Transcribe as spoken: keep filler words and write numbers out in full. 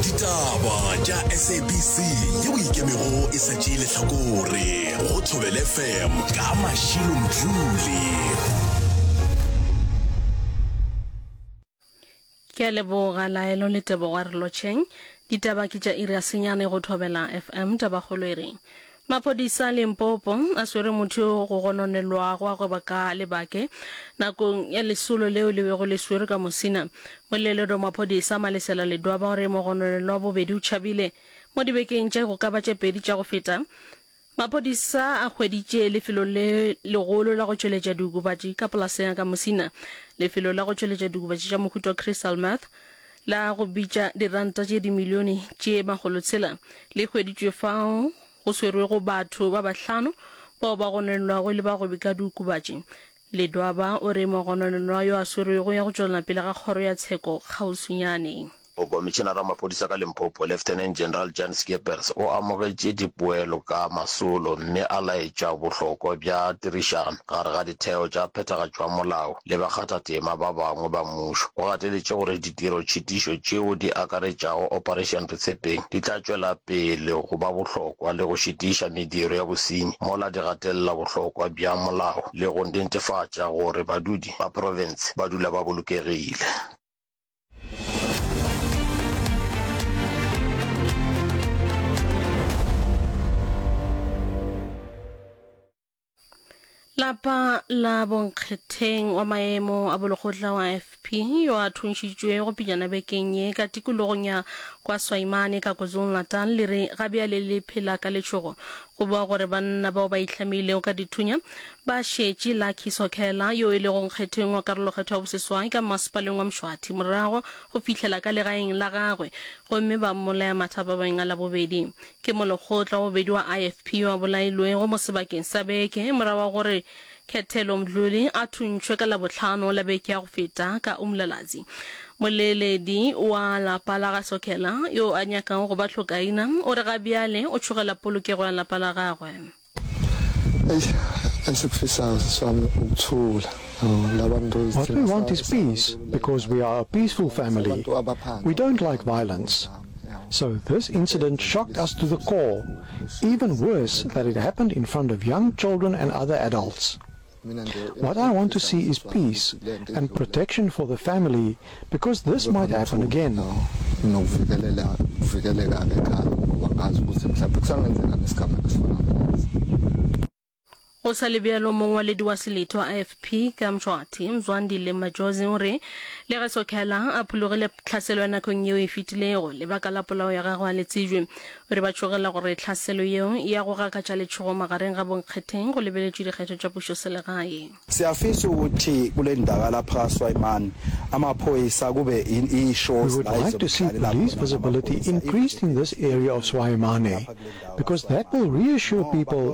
Ditaba tša S A B C yeo ikemego e sa tšee lehlakore go Thobela F M ka Mashilo Mdluli. Ke a leboga Laelo le Tebogo. A re lotšheng. Ditaba ke tša iri ya senyane go Thobela F M. Tabakgolo e re maphodisa a Limpopo a swere motho yo go gononelwago a gweba ka lebake nakong ya lesolo leo le bego le swerwe ka Musina. Moleledi wa maphodisa Malesela Ledwaba o re mogononelwa wa bobedi o tšhabile. Mo dibekeng tše go ka ba tše pedi tša go feta, maphodisa a hweditše lefelo le legolo la go tšweletša diokobatši ka polaseng ya ka Musina. Lefelo la go tšweletša diokobatši tša mohuta wa crystal meth la go bitša diranta tše dimilione tše makgolotshela le hweditšwe fao go swerwego batho ba bahlano bao ba gononelwago e le bagwebi ka diokobatši. Ledwaba o re mogononelwa yo a swerwego ya go tšwelela pele ga kgoro ya tsheko kgauswinyane. Mokomišenara wa maphodisa ka Limpopo, Lieutenant General Jan Skeepers o amogetše dipoelo ka masolo mme a laetša bohlokwa bja tirišano gare ga ditheo tša phethagatšo ya molao le bakgathatema ba bangwe ba mmušo. O gateletše gore ditirotšhitišo tšeo di akaretšago Operation Retshepeng di tla tšwela pele go ba bohlokwa le go šitiša mediro ya bosenyi mola di gatelela bohlokwa bja molao le go netefatša gore badudi ba profense ba dula ba bolokegile. Lapa la bonkgetheng wa maemo a bolekgotla wa I F P yo a thuntšhitšwego pejana bekeng ye ka tikologong ya kwa Swayimane ka KwaZulu-Natal le re ga bjale le phela ka letšhogo go boa gore banna bao ba itlhamilego ka dithunya ba šetše Lucky Sokhela yo e lego nkgetheng wa karolokgetho ya boseswai ka mmasepaleng wa Mshwathi morago go fihlela ka legaeng la gagwe gomme ba mmolaya mathapameng a Labobedi. Ke molekgotla wa bobedi wa I F P yo a bolailwego mo sebakeng sa beke morago ga gore Khethelo Mdluli a thuntšhwe ka Labohlano la beke ya go feta ka Umlalazi. Moleledi wa lapa la ga Sokhela yo a nyakago go ba hlokaina o re ga bjale o tšhogela polokego ya lapa la gagwe. Esikufisayo sisi wami ukuthula. What we want is peace, because we are a peaceful family. We don't like violence. So this incident shocked us to the core. Even worse, that it happened in front of young children and other adults. What I want to see is peace and protection for the family, because this might happen again. Nokuvikeleka ekhaya ngoba ngazi ukuthi mhlawumbe kusangenzeka nesigameko esifana nalesi. Go sa le bjalo, mongwaledi wa selete wa I F P ka Mshwathi, Mzwandile Majozi o re le ge Sokhela a phologile tlhaselo ya nakong yeo e fetilego, lebaka la polao ya gagwe a le tsebjwe. O re ba tšhogela gore tlhaselo yeo ya go gakatša letšhogo magareng ga bonkgetheng go lebeletšwe dikgetho tša pušoselegae. Siyafisa ukuthi kule ndawo lapha kaSwayimane amaphoyisa kube We would like to see police visibility increased in this area of Swayimane, because that will reassure people